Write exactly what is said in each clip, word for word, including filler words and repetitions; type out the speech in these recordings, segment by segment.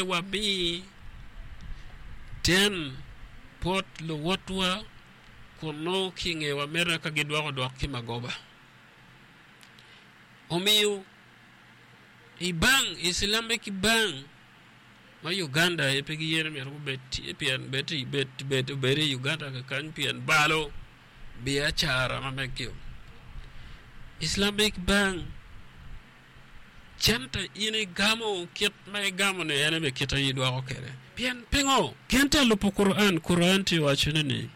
Pe wami den bot luwotwa kun nongo ki i ngewa mito ka gidwoko dwok ki magoba. Omiyo i bank, Islamic Bank ma Uganda aye pe giyene myero gubed tye pien bed bed bed obed i Uganda kakany pien balo biacara ma meggi. Islamic Bank cente in igamo kit ma igamo-ni en aye kit aye idwoko kwede. Pien pingo? Gin tye lubo Quran, Quran tye wacone ni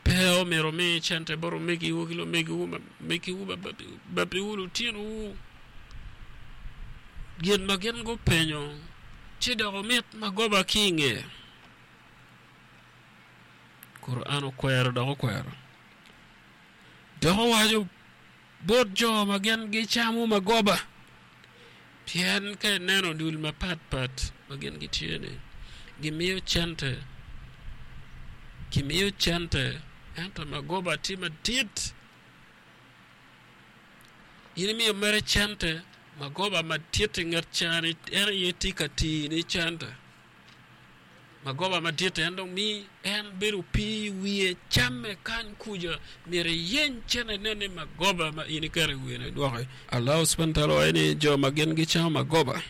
pe omyero omi cente bot omegiwu ki lumegiwu megiwu babiwu lutinowu gin ma gin gupenyo ci dok omit magoba ki i nge. Quran okwero dok okwero. Dok owaco bot jo ma gin gicamo magoba pien ka ineno dul mapatpat ma gin gitye-ni gimiyo cente gimiyo cente ento magoba tye madit in imiyo mere cente magoba madit i nget cani en aye tye ka tini cente magoba madit en dong mi en bedo opii i wiye camme kany kuca myero iyeny cente inen ni magoba ma in iketo i wiye-ni idwoki. Allah subhanahu wa ta'ala owaco ni jo ma gin gicamo magoba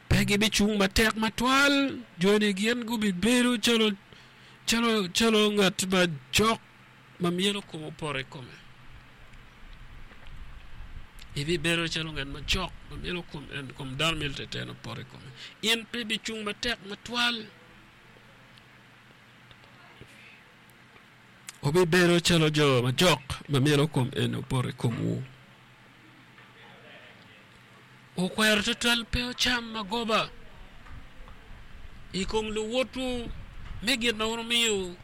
pe gibicung matek matwal joni gin gubibedo calo calo calo ngat ma jok ma myelo kome opoto i kome. Ibibedo calo ngat macok ma myelo kom dano myelo teten opoto i kome. In pe ibicung matek matwal. Wubibedo calo jo macok ma myelo kom eni opoto i komwu. Wukwero twatwal pe wucam magoba i kom luwotwu me gin ma wun wumiyo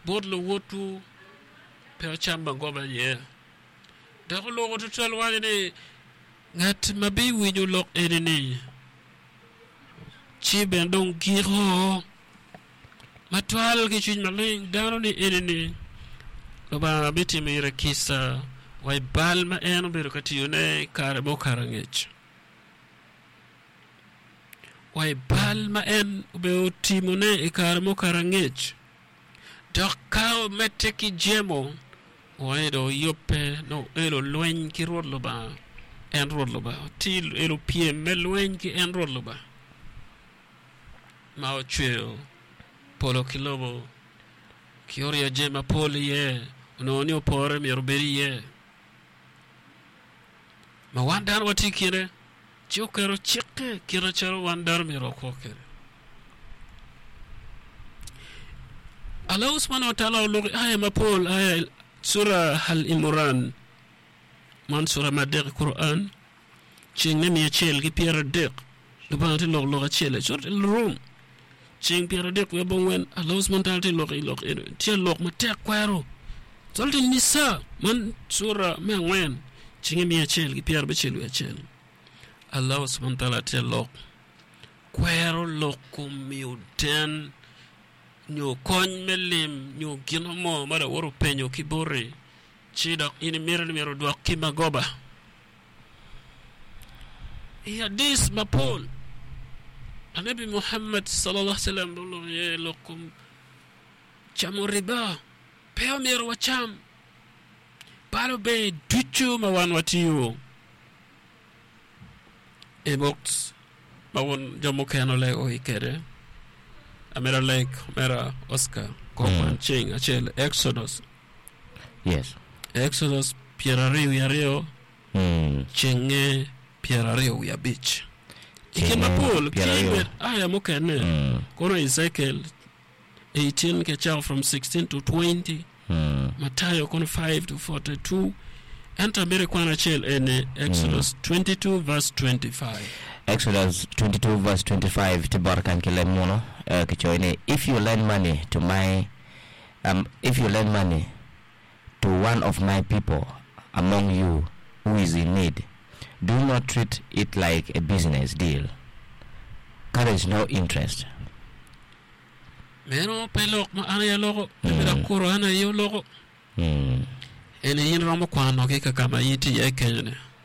bot luwotwu pe wucam magoba iye. Dok oloko twatwal waco ni, Ngat ma biwinyo lok eni-ni ci bene dong giko matwal ki cwiny maleng dano-ni eni-ni, Lubanga bitimo ire kica wa i bal ma en obedo ka tiyone i kare mukato angec. Wa i bal ma en obedo timone i kare mukato angec. Dok ka omedde ki jemo, owaco dong oyubbe nongo oelo lweny ki Rwot Lubanga, en Rwot Lubanga. Tye elo pyem me lweny ki en Rwot Lubanga ma ocweyo polo ki lobo ki oryeyo jami mapol iye, onongo ni opore myero obed iye. Ma wan dano watye i kine, ci oketo cikke kit macalo wan dano myero wakwo kwede. Allah subhanahu wa ta'ala oloko i aya mapol, aya sura Al-Imran, man sura me adek i Quran, ceng me miya acel ki pyeradek, Lubanga tye lok lok acel i Surat Al-Rum, ceng pyeradek wiye abongwen, Allah subhanahu wa ta'ala tye lok i lok eno, tye lok matek kwero. Surat An-Nisa, man sura me angwen, cenge miya acel ki pyerabicel wiye acel, Allah subhanahu wa ta'ala tye lok kwero lok kom miyo den nyo kony me lim nyo gin mo ma lawote openyo ki boti ci dok in imito ni myero odwok ki magoba. I hadith mapol, Lanebi Muhammad sallallahu alaihi wasallam oloko iye lok kom camo riba. Pe omyero wacam bal ober ducu ma wan watiyo i buk ma wun jo mukene olego i kwede. Amito aleg omera Oscar kong ceng acel Exodus. Yes. Exodus pyeraryo wiye aryo Mm. cenge pyeraryo wiye abic. I kin Cenge mapol ki pyeraryo. bed aya mukene Mm. kono Ezekiel eighteen ki acako from sixteen to twenty Mm. Matayo kono five to forty-two ento amito ikwan acel eni Exodus twenty-two verse twenty-five. Exodus twenty-two verse twenty-five tye bota kany ki leb muno eh, kicoyo ni if you lend money to my um, if you lend money to one of my people among you who is in need, do not treat it like a business deal, carries no interest. Meno pe lok ma an aye aloko, ento dok Quran aye oloko. Mm. Eni in iromo kwano ki kakama in itye iye kenyo-ni.